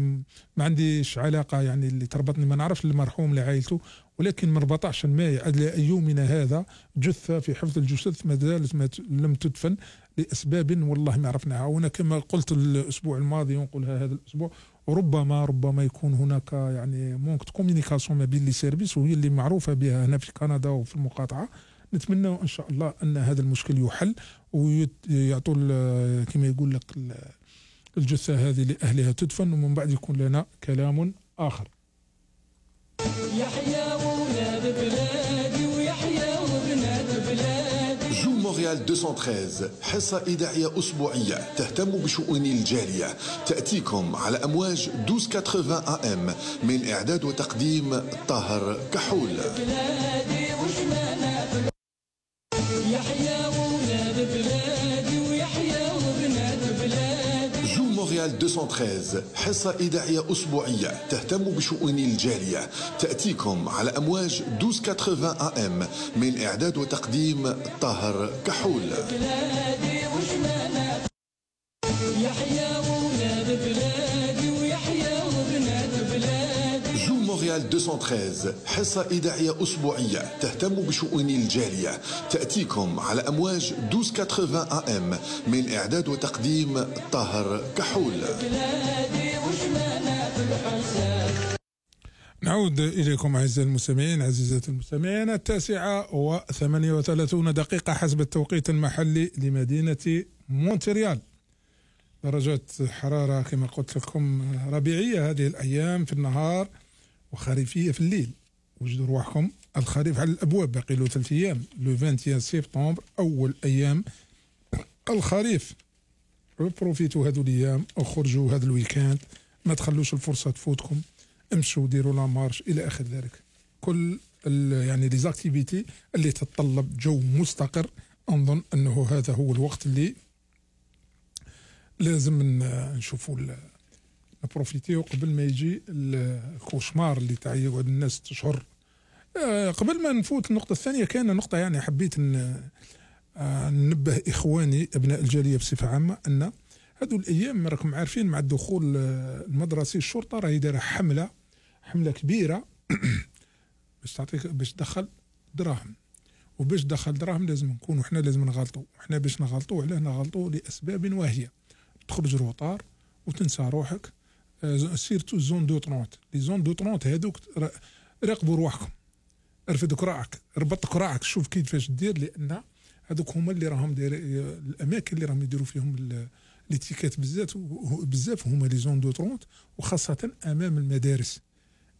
Speaker 3: ما عنديش علاقه يعني اللي تربطني، ما نعرفش المرحوم لعائلته، ولكن من أربعة عشر ماي الى يومنا هذا جثه في حفظ الجثث ما زالت لم تدفن لاسباب والله ما عرفناها. وانا كما قلت الاسبوع الماضي ونقولها هذا الاسبوع، وربما ربما يكون هناك يعني مونك كوميونيكاسيون ما بين لي سيرفيس، وهي اللي معروفه بها هنا في كندا وفي المقاطعه. نتمنى ان شاء الله ان هذا المشكل يحل ويعطوا كما يقول لك الجثه هذه لاهلها تدفن، ومن بعد يكون لنا كلام اخر.
Speaker 5: يحيى ولاد بلادي ويحيى وبنات بلادي.
Speaker 4: جو مونريال مئتين وثلاثة عشر حصة إذاعية أسبوعية تهتم بشؤون الجالية، تأتيكم على أمواج اثنا عشر ثمانين إيه إم، من إعداد وتقديم طاهر كحول.
Speaker 5: بلادي وشمالات يحيى ولاد بلادي ويحيى وبنات بلادي.
Speaker 4: جو مونريال مئتين وثلاثة عشر حصة إذاعية أسبوعية تهتم بشؤون الجالية، تأتيكم على أمواج اثنا عشر ثمانين إيه إم، من إعداد وتقديم طاهر كحول.
Speaker 5: بلادي وشمالات يحيى ولاد بلادي ويحيى وبنات بلادي.
Speaker 4: جو مونريال مئتين وثلاثة عشر حصة إذاعية أسبوعية تهتم بشؤون الجالية، تأتيكم على أمواج اثنا عشر ثمانين إيه إم، من إعداد وتقديم طاهر كحول.
Speaker 5: بلادي وشمالات الحسن.
Speaker 3: نعود إليكم أعزائي المستمعين عزيزات المستمعين، التاسعة وثمانية وثلاثون دقيقة حسب التوقيت المحلي لمدينة مونتريال. درجات حرارة كما قلت لكم ربيعية هذه الأيام في النهار، وخريفية في الليل. وجدوا رواحكم الخريف على الأبواب، باقي له ثلاث أيام، لو واحد وعشرين سبتمبر أول أيام الخريف. بروفيتوا هذو الأيام، اخرجوا هذا الويكاند، ما تخلوش الفرصة تفوتكم، امشوا ديروا لا مارش إلى آخر ذلك. كل يعني لي زاكتيفيتي اللي تتطلب جو مستقر، أنظن أنه هذا هو الوقت اللي لازم نشوفوا نبروفيتيو قبل ما يجي الكوشمار اللي تاع يقعد الناس تشهر. قبل ما نفوت النقطة الثانية، كان نقطة يعني حبيت ننبه إخواني أبناء الجالية بصفة عامة، أن هذو الأيام راكم عارفين مع الدخول المدرسي الشرطة راهي دايرة حملة حملة كبيرة باش تعطيك باش تدخل دراهم، وباش تدخل دراهم لازم نكونوا احنا لازم نغلطوا، احنا باش نغلطوا علاه نغلطوا لأسباب واهية. تخرج روطار وتنسى روحك، سيرتو زون دو طرونت، لي زون دو طرونت هذوك راقبوا روحكم، ارفد كراعك، ربط كراعك، شوف كيفاش دير، لأن هذوك هما اللي راهم داير الأماكن اللي راهم يديروا فيهم ليتيكات بزاف بزاف هما لي زون دو طرونت، وخاصة أمام المدارس.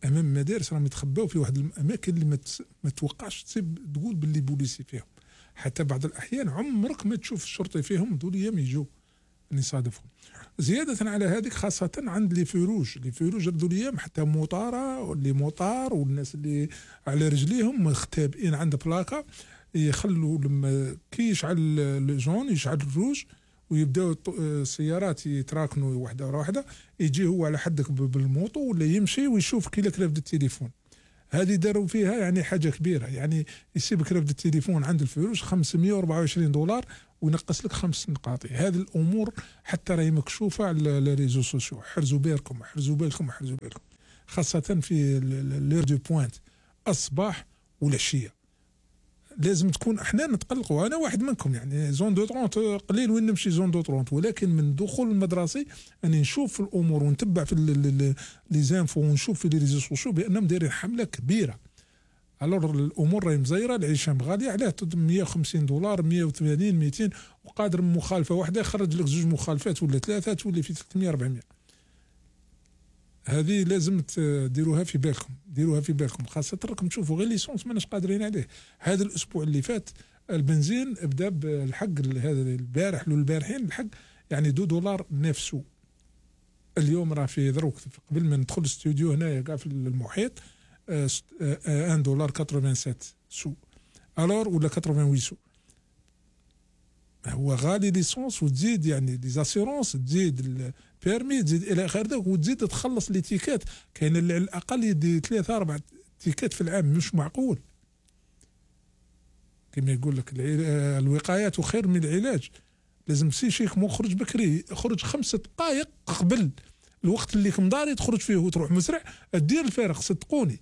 Speaker 3: أمام المدارس راهم يتخباو في واحد الأماكن اللي ما, ما توقعش تسيب تقول باللي بوليسي فيهم، حتى بعض الأحيان عمرك ما تشوف الشرطي فيهم، دول أيام يجوا نصادفهم. زيادة على هذيك خاصة عند لي فيروج، لي فيروج ذو الايام حتى موطارة واللي موطار والناس اللي على رجليهم مختبئين عند بلاكا، يخلوا لما كي يشعل الجون يشعل الروج ويبداو السيارات يتراكنوا واحدة ورا واحدة، يجي هو على حدك بالموطو ولا يمشي ويشوف كي لك رافد التليفون. هذه داروا فيها يعني حاجة كبيرة، يعني يسيبك رافد التليفون عند الفيروج خمسمية وأربعة وعشرين دولار وينقص لك خمس نقاط. هذه الأمور حتى راهي مكشوفة على الريزو سوسيو، حرزوا بالكم حرزوا بالكم حرزوا بالكم، خاصة في لير دو بوينت الصباح والعشية. لازم تكون احنا نتقلقوا، انا واحد منكم يعني زون دو طرونت قليل وين نمشي زون دو طرونت، ولكن من دخول المدرسي اني نشوف الامور ونتبع في لي زانفو ونشوف في لي ريزو سوسيو بانهم دايرين حمله كبيره. الور الامور راهي مزيره، العيشه غاليه، علاه مية وخمسين دولار مية وثمانين ميتين، وقادر مخالفه واحده يخرج لك زوج مخالفات ولا ثلاثه تولي في ثلاثمية أربعمية. هذه لازم تديروها في بالكم، ديروها في بالكم، خاصة راكم تشوفوا غير ليسونس ماناش قادرين عليه. هذا الأسبوع اللي فات البنزين بدا بالحق، هذا البارح والبارحين الحق يعني دو دولار نفسه. اليوم راه في دروك قبل ما ندخل الاستوديو هنايا كاع في المحيط واحد دولار سبعة وثمانين سو الور ولا ثمانية وثمانين سو. هو غالي ليسونس وتزيد يعني لي زاسيرونس تزيد البيرمي تزيد الى اخره وتزيد تخلص لي تيكات. كاين اللي على الاقل يدي ثلاثة أربعة تيكات في العام مش معقول. كما يقول لك الوقاية خير من العلاج. لازم سي شيك مخرج بكري خرج خمسة دقائق قبل الوقت اللي كمداري تخرج فيه وتروح مسرع دير الفارق صدقوني.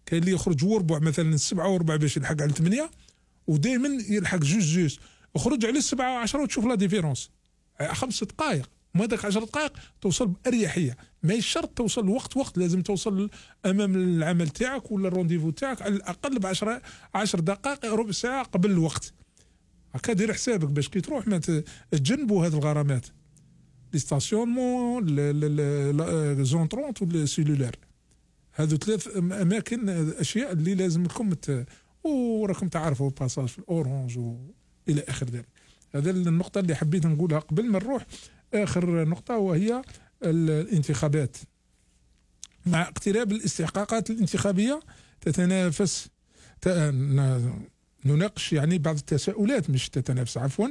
Speaker 3: كاين اللي يخرج وربع مثلا السبعة وربع باش يلحق على ثمانية ودائما يلحق جوج جوج خرج على السبعة وعشرة وتشوف لا ديفيرونس. خمس دقائق ما داك عشر دقائق توصل بأريحية. ما شرط توصل وقت وقت لازم توصل امام العمل تاعك ولا الرونديفو تاعك على الاقل بعشرة عشر دقائق ربع ساعة قبل الوقت. هكا دير حسابك باش كي تروح ما تجنبوا هذه الغرامات. لي ستاسيونمون لي زونطرونت والسيلولار هذو ثلاث اماكن اشياء اللي لازم لكم وراكم تعرفوا باساج في الاورانج والى اخر ذلك. هذا النقطة اللي حبيت نقولها قبل ما نروح اخر نقطة وهي الانتخابات. مع اقتراب الاستحقاقات الانتخابية تتنافس نناقش يعني بعض التساؤلات مش تتنافس عفوا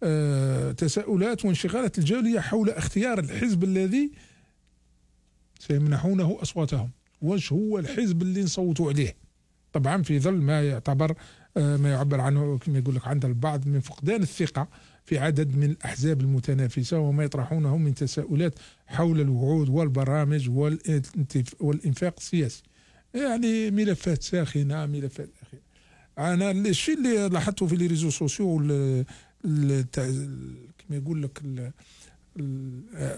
Speaker 3: أه تساؤلات وانشغالات الجالية حول اختيار الحزب الذي سيمنحونه أصواتهم. واش هو الحزب اللي نصوتوا عليه؟ طبعا في ظل ما يعتبر أه ما يعبر عنه كما يقول لك عند البعض من فقدان الثقة في عدد من الأحزاب المتنافسة وما يطرحونه من تساؤلات حول الوعود والبرامج والإنفاق السياسي. يعني ملفات ساخنة ملفات أخيرة. أنا الشيء اللي لاحظته في لي ريزو سوسيو كما يقول لك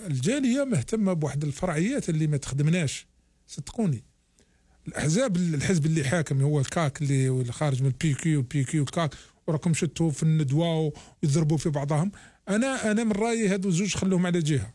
Speaker 3: الجالية مهتمة بواحد الفرعيات اللي ما تخدمناش صدقوني. الأحزاب الحزب اللي حاكم هو الكاك اللي خارج من البي كيو والبي كيو والكاك وراكم شتوا في الندوة ويضربوا في بعضهم. أنا أنا من رأيي هذو الزوج خلوهم على جهة.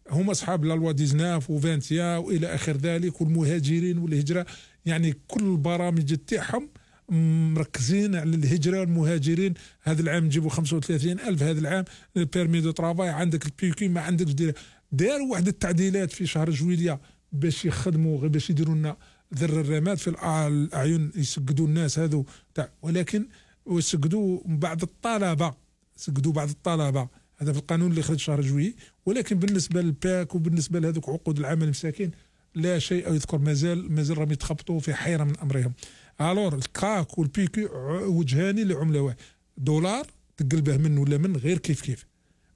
Speaker 3: هم أصحاب لا لوا تسعطاش وفانتيا وإلى آخر ذلك والمهاجرين والهجرة. يعني كل البرامج تاعهم مركزين على الهجرة والمهاجرين. هذا العام نجيبوا خمسة وثلاثين ألف هذا العام بيرمي دو ترافاي عندك البيكي ما عندك دير داروا واحد التعديلات في شهر جويلية باش يخدموا غير باش يديروا لنا ذر الرماد في الأعين يسقدوا الناس هذو تاع. ولكن ويسقدوا بعض الطلبة سقدوا بعض الطلبة هذا في القانون اللي خرج شهر جويي. ولكن بالنسبة للباك وبالنسبة لهذوك عقود العمل المساكين لا شيء يذكر. مازال مازال راهم يتخبطوا في حيرة من أمرهم. الور الكاك والبيكي وجهاني لعملة واحد دولار تقلبه من ولا من غير كيف كيف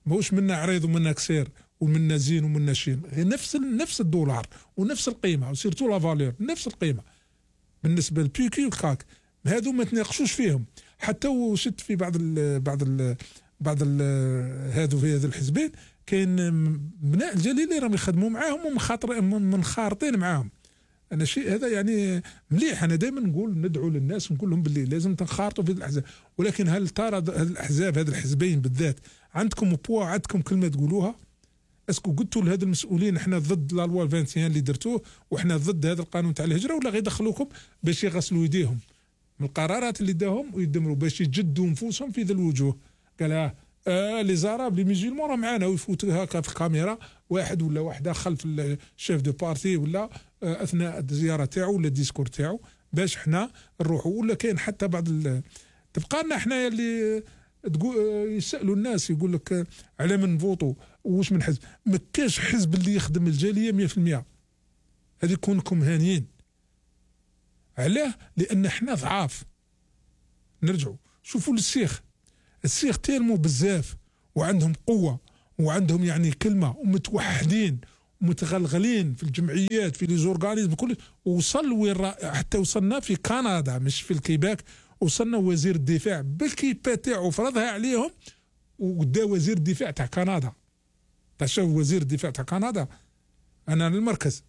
Speaker 3: ماهوش منا عريض ومنا كسير ومنا زين ومنا شين نفس نفس الدولار ونفس القيمة وسيرتو لا فالور نفس القيمة. بالنسبة للبيكي والكاك هذو ما تناقشوش فيهم. حتى وشت في بعض ال بعض ال بعض ال هذو في هذا الحزبين كاين بناء الجليلي راهم يخدموا معاهم ومخاطر منخارطين معاهم. أنا شيء هذا يعني مليح. أنا دائما نقول ندعو للناس ونقول لهم باللي لازم تنخارطوا في الأحزاب. ولكن هل ترى هذه الأحزاب هذه الحزبين بالذات عندكم بوا عندكم كلمة تقولوها؟ اسكو قلتوا لهذا المسؤولين احنا ضد لا لوا واحد وعشرين اللي درتوه وإحنا ضد هذا القانون تاع الهجرة ولا غير يدخلوكم باش يغسلوا يديهم من القرارات اللي داهم ويدمروا باش يجدوا نفوسهم في ذا الوجوه؟ قال اه, آه لي زاراب لي ميزيلمون راه معانا ويفوتوا هكا في الكاميرا واحد ولا واحده خلف الشيف دو بارتي ولا آه اثناء الزياره تاعو ولا الديسكور تاعو باش حنا نروحوا. ولا كاين حتى بعض تبقى لنا حنايا اللي تقول يسالوا الناس يقول لك على من نفوتوا واش من حزب. ما كاش حزب اللي يخدم الجاليه مية في المية. هذه كونكم هانيين علاه لان حنا ضعاف. نرجعوا شوفوا السيخ السيخ تيرمو بزاف وعندهم قوه وعندهم يعني كلمه ومتوحدين ومتغلغلين في الجمعيات في لي زورغانيزم كل. وصل وين حتى وصلنا في كندا مش في الكيباك. وصلنا وزير الدفاع بالكيبا تاعو فرضها عليهم ودا وزير الدفاع تاع كندا. تشوف وزير الدفاع تاع كندا انا للمركز.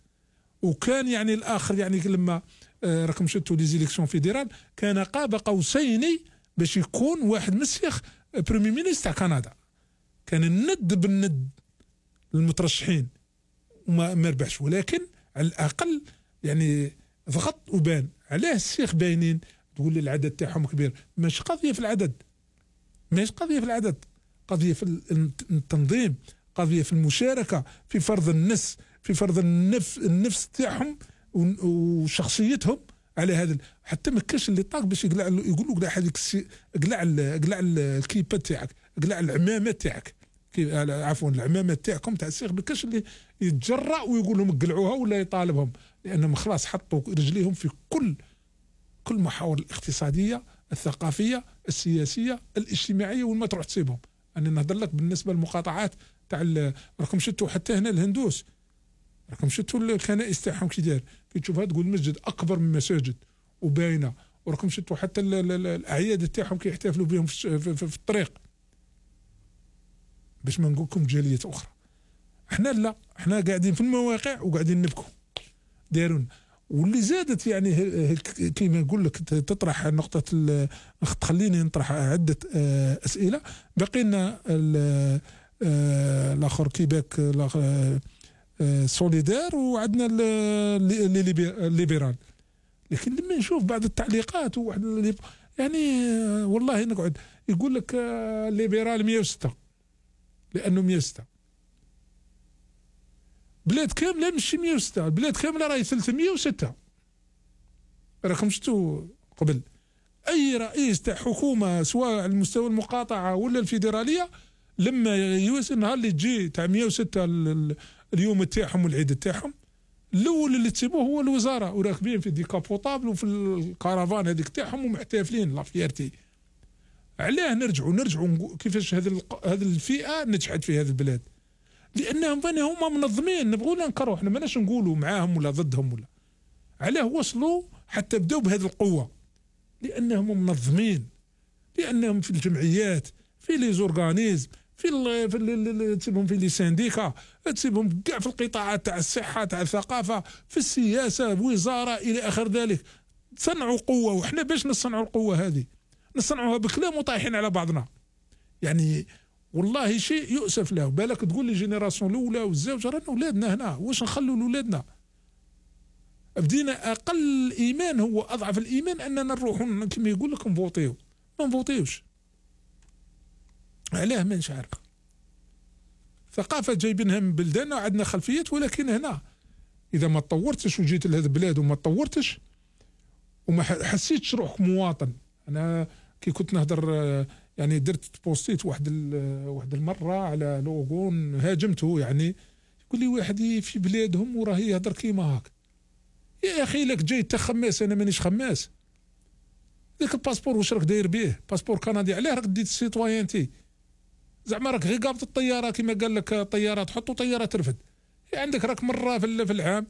Speaker 3: وكان يعني الاخر يعني لما آه راكم شفتوا لي زيليكسيون فيدرال كان قاب قوسين باش يكون واحد مسيخ بريمي مينيستر تاع كندا. كان الند بالند للمترشحين وما ما ربحش. ولكن على الاقل يعني ضغط وبان. علاه السيخ باينين تقول لي العدد تاعهم كبير؟ مش قضيه في العدد مش قضيه في العدد. قضية في التنظيم، قضية في المشاركة، في فرض النفس، في فرض النفس النفس تاعهم وشخصيتهم على هذا. حتى ما كاش اللي طاق باش يقلع، يقول له قلع هذيك قلع قلع الكيبه تاعك، قلع العمامه تاعك، عفوا العمامه تاعكم تاع السيخ، ما كاش اللي يتجرأ ويقول لهم قلعوها ولا يطالبهم، لانهم خلاص حطوا رجليهم في كل كل محاور الاقتصاديه، الثقافيه، السياسيه، الاجتماعيه، وين ما تروح تسيبهم. انا نهضر لك بالنسبه للمقاطعات تاع راكم شفتوا حتى هنا الهندوس، راكم شفتوا الكنائس تاعهم كي داير، كي تشوفها تقول مسجد اكبر من مساجد وباينه، وراكم شفتوا حتى الاعياد تاعهم كي يحتفلوا بهم في, في, في, في الطريق، باش ما نقول لكم جاليات اخرى. احنا لا، احنا قاعدين في المواقع وقاعدين نبكوا دايرون. واللي زادت يعني كيما نقول لك تطرح نقطه، تخليني نطرح عده اسئله. باقي لنا الاخر كيباك سوليدار، وعندنا الليبرال. لكن لما نشوف بعض التعليقات وواحد اللي يعني والله نقعد يقول لك الليبرال مية وستة لانه مية وستة، بلاد كامله ماشي مية وستة، البلاد كامله راهي ثلاثمية وستة. راكم شفتوا قبل اي رئيس تاع حكومه سواء على المستوى المقاطعه ولا الفيدراليه، لما يوصل النهار اللي تجي تاع مية وستة اليوم تاعهم والعيد تاعهم، الاول اللي تسيبوه هو الوزاره، وراكبين في ديكابوطابل وفي الكارافان هذيك تاعهم ومحتفلين لا فيارتي. علاه نرجعوا نرجعوا كيفاش هذه هذه الفئه نجحت في هذه البلاد؟ لانهم هما منظمين، نبغوا ننكروا، احنا ماناش نقولوا معاهم ولا ضدهم ولا. علاه وصلوا حتى بداوا بهذه القوه؟ لانهم منظمين، لانهم في الجمعيات، في لي زورغانيزم، في ال في ال تسيبهم في لي سانديكا، تسيبهم كاع في القطاعات تاع الصحه، تاع الثقافه، في السياسه، وزاره الى اخر ذلك. صنعوا قوه، وحنا باش نصنعوا القوه هذه نصنعوها بكلام وطايحين على بعضنا. يعني والله شيء يؤسف له. بالك تقول لي جينيراسيون الاولى والزوج، رانا اولادنا هنا، واش نخلوا لاولادنا؟ بدينا اقل ايمان، هو اضعف الايمان اننا نروحوا كما يقول لك نفوتيو، ما نفوتيوش. علاه ما نش عارف. ثقافه جايبينها من بلداننا وعندنا خلفيات، ولكن هنا اذا ما تطورتش وجيت لهذه البلاد وما تطورتش وما حسيتش روحك مواطن. انا كي كنت نهضر يعني درت بوستيت واحد واحد المره على لوغون هاجمته، يعني يقول لي واحد في بلادهم وراه يهضر كيما هاك. يا اخي لك جاي انت خماس، انا مانيش خماس. ذاك الباسبور واش راك داير به؟ باسبور كندي، علاه راك ديت السيتويانتي؟ زعما راك غير قابض الطياره كما قال لك طياره تحط وطياره ترفد. عندك راك مره في العام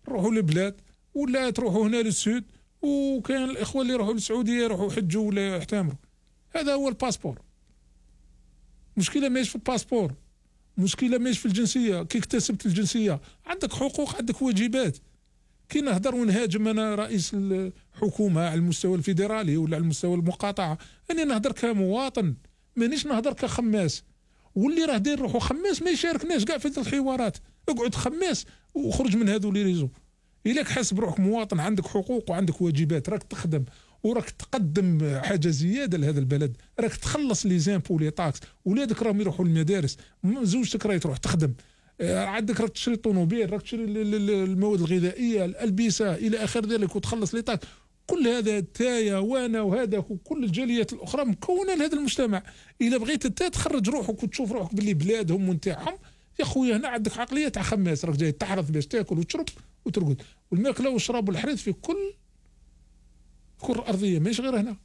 Speaker 3: نروحوا للبلاد، ولا تروحوا هنا للسود، وكاين الاخوه اللي يروحوا للسعوديه يروحوا يحجوا ولا يحتمروا. هذا هو الباسبور. مشكله ماهيش في الباسبور، مشكله ماهيش في الجنسيه. كي اكتسبت الجنسيه عندك حقوق، عندك واجبات. كي نهضر ونهاجم انا رئيس الحكومه على المستوى الفيدرالي ولا على المستوى المقاطعه، انا نهضر كمواطن، مانيش نهضر كخماس. واللي راه داير روحو خماس ما يشاركناش كاع في الحوارات. اقعد خماس وخرج من هذو لي ريزو. إلاك حاسب روحك مواطن، عندك حقوق وعندك واجبات، راك تخدم وراك تقدم حاجه زياده لهذا البلد، راك تخلص لي زامبو لي طاكس، ولادك راهم يروحوا للمدارس، زوجتك راهي تروح تخدم، عندك راك تشري طوموبيل، راك تشري المواد الغذائيه، الالبسه الى اخر ذلك، وتخلص لي طاكس. كل هذا تايا وانا وهذاك وكل الجاليات الاخرى مكونه لهذا المجتمع. اذا بغيت انت تخرج روحك وتشوف روحك باللي بلادهم ونتاعهم، يا خويا هنا عندك عقليه تاع خماس، راك جاي تحرث باش تاكل وتشرب وترقد، والماكله والشراب والحريث في كل كل الارضيه ماشي غير هنا.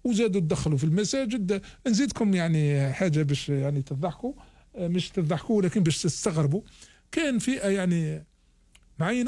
Speaker 3: وزادوا تدخلوا في المساجد. نزيدكم يعني حاجه باش يعني تضحكوا، مش تضحكوا ولكن باش تستغربوا. كان فئه يعني معينه